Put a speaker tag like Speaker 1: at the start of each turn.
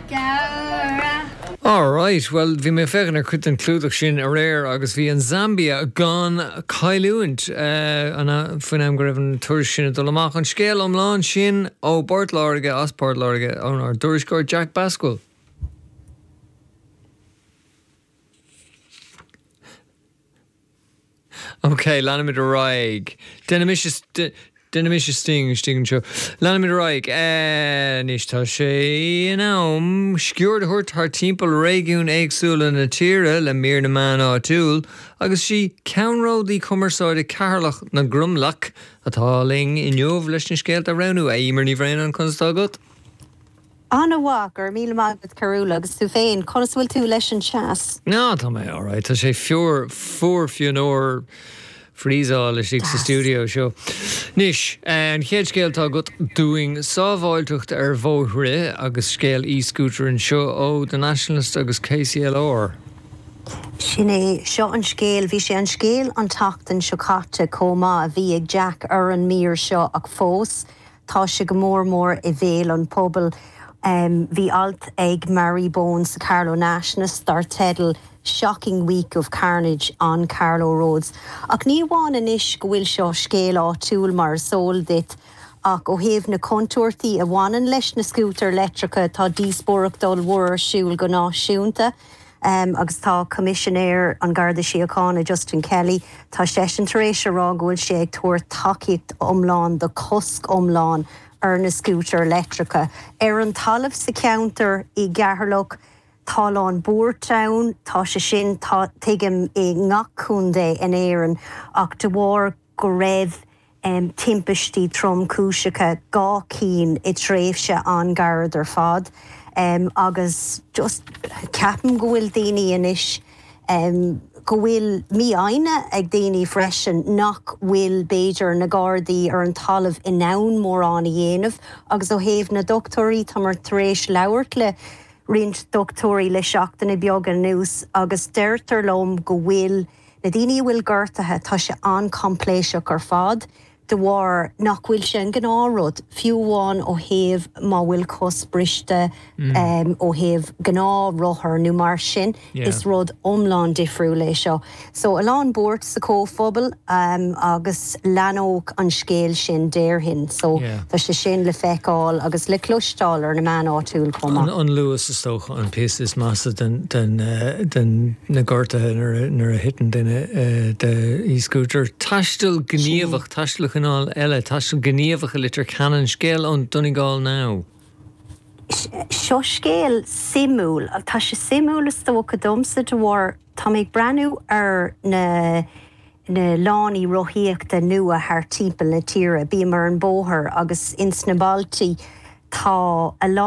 Speaker 1: Gabhra.
Speaker 2: Alright, bhuel bhí mé ag féachaint ar chuid den chlúdach sin aréir agus bhí an Zambia gan cailliúint faoin am go raibh an tuairisc sin ag dul amach. An scéal iomlán sin ó bPort Láirge, as Port Láirge, ónár dtuairisceoir Jack Basquill. Ok, leanfaimid ar aghaidh. Déanfaidh mise, déanfaidh mise sting istigh anseo. Leanfaimid ar aghaidh. Anois tá sé in am sciuird a thabhairt thar timpeall réigiúin éagsúla na tíre le mír na meán áitiúil agus sí ceannródaí cumarsáide Cheatharlach na gCromleach atá linn inniu leis na scéalta a roghnú. A Emer Ní Bhraonáin, conas atá agat?
Speaker 3: An-mhaith, go raibh míle maith agat Cearbhall, agus tú féin, conas a bhfuil tú leis an teas?
Speaker 2: Ná, tá mé alright, tá sé fior, fuar fionnuar freezeáil istigh sa stiúideo seo. Anois, an chéad scéal atá agat dúinn, sábháilteacht ar bhóithre agus scéal e-scooter anseo ó The Nationalist agus KCLR.
Speaker 3: Sin é, seo an scéal, bhí sé an scéal an tseachtain seo caite chomh maith a bhí ag Jack ar an mír seo ach fós, Tá sé go mór mór i bhéal an phobail. Bhí alt ag Marie Bone sa Carlow Nationalist dar teideal 'Shocking Week of Carnage on Carlow Roads'. Ach ní amháin anois go bhfuil seo scéal áitiúil mar is eol duit, ach ó thaobh na contúirtí a bhaineann leis na scútair leictreacha tá díospóireacht ollmhór ar siúl go náisiúnta. Agus tá Coimisinéir an Gharda Síochána, Justin Kelly, tá seisean tar éis a rá go bhfuil sé ag tabhairt tacaíocht iomlán do chosc iomlán ar na scútair leictreacha. Ar an talamh sa cheantar i gCeatharlach, tá a lán buairt ann, tá sé sin, tá, tuigim, i ngach contae in Éirinn, ach de bharr go raibh timpistí tromchúiseacha, 2 cinn i dtréimhse an-ghairid ar fad agus just ceapaim go bhfuil daoine anois, go bhfuil mífhoighne ag daoine freisin nach bhfuil b'fhéidir na Gardaí ar an talamh in ann mórán a dhéanamh agus ó thaobh na dochtúirí, táimar tar éis labhairt le roinnt dochtúirí le seachtainí beaga anuas agus deirtear liom go bhfuil Na daoine a bhfuil gortaithe, tá sé an-choimpléiseach ar fad de bharr nach bhfuil sé an gnáthrud, fiú amháin ó thaobh má bhfuil cos briste, ó thaobh gnáthrothar nó mar sin, is rud iomlán difriúil é seo. So a lán buairt sa chomhphobal agus leathnódh an scéal sin déarfainn. So tá sé sin le feiceáil agus le cloisteáil ar na meáin áitiúil chomh maith.
Speaker 2: An luas is dócha an píosa is measa den na gortuithe nuair a thiteann duine de e-scooter. Taisteal gníomhach, taisteal de chineál eile, taisteal gníomhach i Leitir Ceanainn, scéal ón Donegal Now.
Speaker 3: Seo scéal suimiúil. Tá sé suimiúil is dócha domsa de bharr tá mé ag breathnú ar na na lánaí rothaíochta nua thart timpeall na tíre. Bím ar an bóthar agus ins na bailtí tá a lán.